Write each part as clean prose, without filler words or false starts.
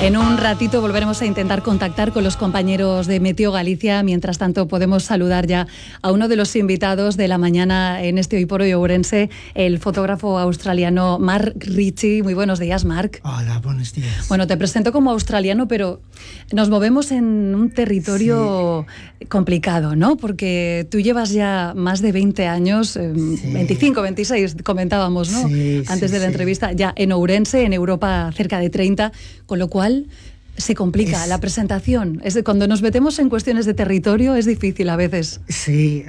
En un ratito volveremos a intentar contactar con los compañeros de Meteo Galicia. Mientras tanto, podemos saludar ya a uno de los invitados de la mañana en este Hoy por Hoy Ourense, el fotógrafo australiano Mark Ritchie. Muy buenos días, Mark. Hola, buenos días. Bueno, te presento como australiano, pero nos movemos en un territorio complicado, ¿no? Porque tú llevas ya más de 20 años, 25, 26, comentábamos, ¿no? Antes de la entrevista, ya en Ourense, en Europa cerca de 30, con lo cual se complica la presentación. Cuando nos metemos en cuestiones de territorio es difícil a veces. Sí,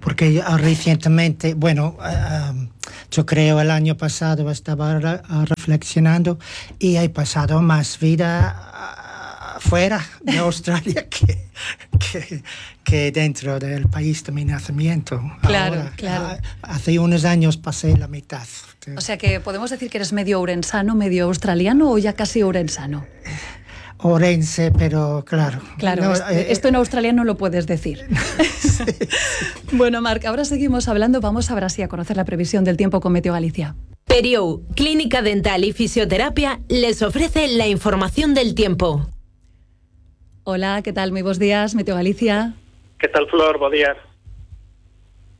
porque recientemente, yo creo el año pasado estaba reflexionando y he pasado más vida fuera de Australia que dentro del país de mi nacimiento. Claro, ahora, claro. Hace unos años pasé la mitad. O sea que podemos decir que eres medio ourensano, medio australiano o ya casi ourensano. Ourense, pero claro. Claro, no, esto en australiano lo puedes decir. Sí. Bueno, Marc, ahora seguimos hablando. Vamos ahora sí a conocer la previsión del tiempo con Meteo Galicia. Periou, Clínica Dental y Fisioterapia, les ofrece la información del tiempo. Hola, ¿qué tal? Muy buenos días, Meteo Galicia. ¿Qué tal, Flor? Buen día.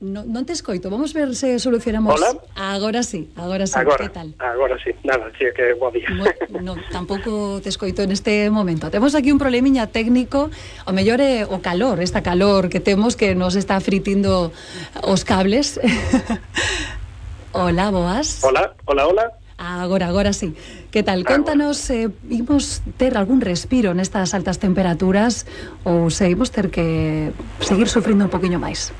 Non te escoito, vamos ver se solucionamos. Hola? Agora sí, que tal? Agora sí, nada, sí que bo día. No, tampouco te escoito en este momento. Temos aquí un problemiña técnico, o mellor é o calor, esta calor que temos que nos está fritindo os cables. Hola, boas. Hola. Agora sí. Que tal? Contanos, imos ter algún respiro nestas altas temperaturas ou se imos ter que seguir sufrindo un poquinho máis?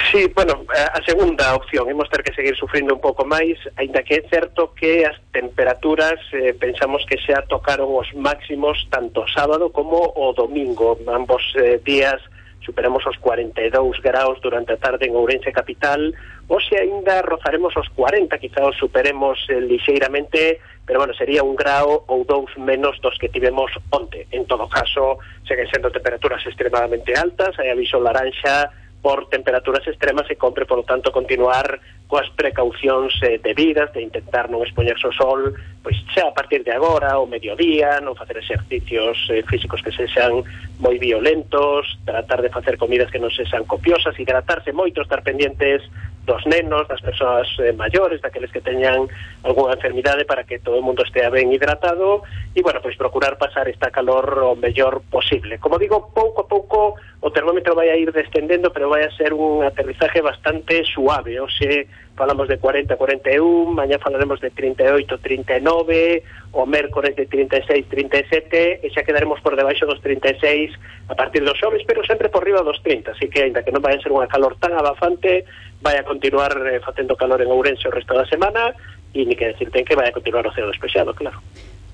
Sí, a segunda opción, imos ter que seguir sufrindo un pouco máis, aínda que é certo que as temperaturas pensamos que xa tocaron os máximos tanto sábado como o domingo. Ambos días superamos os 42 graus durante a tarde en Ourense capital, hoxe aínda rozaremos os 40, quizá os superemos lixeiramente, pero sería 1 grau ou 2 menos dos que tivemos onte. En todo caso, seguen sendo temperaturas extremadamente altas, hai aviso laranxa por temperaturas extremas e compre, por lo tanto, continuar coas precaucións debidas de intentar non expoñerse ao sol, pois xa a partir de agora, ao mediodía, non facer exercicios físicos que sexan moi violentos, tratar de facer comidas que non sexan copiosas, hidratarse moito, estar pendientes dos nenos, das persoas maiores, daqueles que teñan algunha enfermidade para que todo o mundo estea ben hidratado e, pois procurar pasar esta calor o mellor posible. Como digo, pouco a pouco o termómetro vai a ir descendendo, pero vai a ser un aterrizaje bastante suave. Hoxe falamos de 40, 41, mañá falaremos de 38, 39, o mércores de 36, 37, e xa quedaremos por debaixo dos 36 a partir dos xoves, pero sempre por riba dos 30, así que, aínda que non vai a ser unha calor tan abafante, vai a continuar facendo calor en Ourense o resto da semana, e ni que decir ten que vai a continuar o ceo despexado, claro.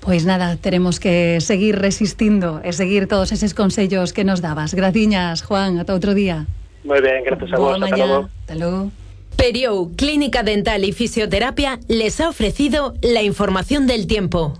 Pois nada, teremos que seguir resistindo e seguir todos eses consellos que nos dabas. Graciñas, Juan, ata outro día. Moi ben, gracias a vos, ata logo. Hasta logo. Periou, Clínica Dental y Fisioterapia, les ha ofrecido la información del tiempo.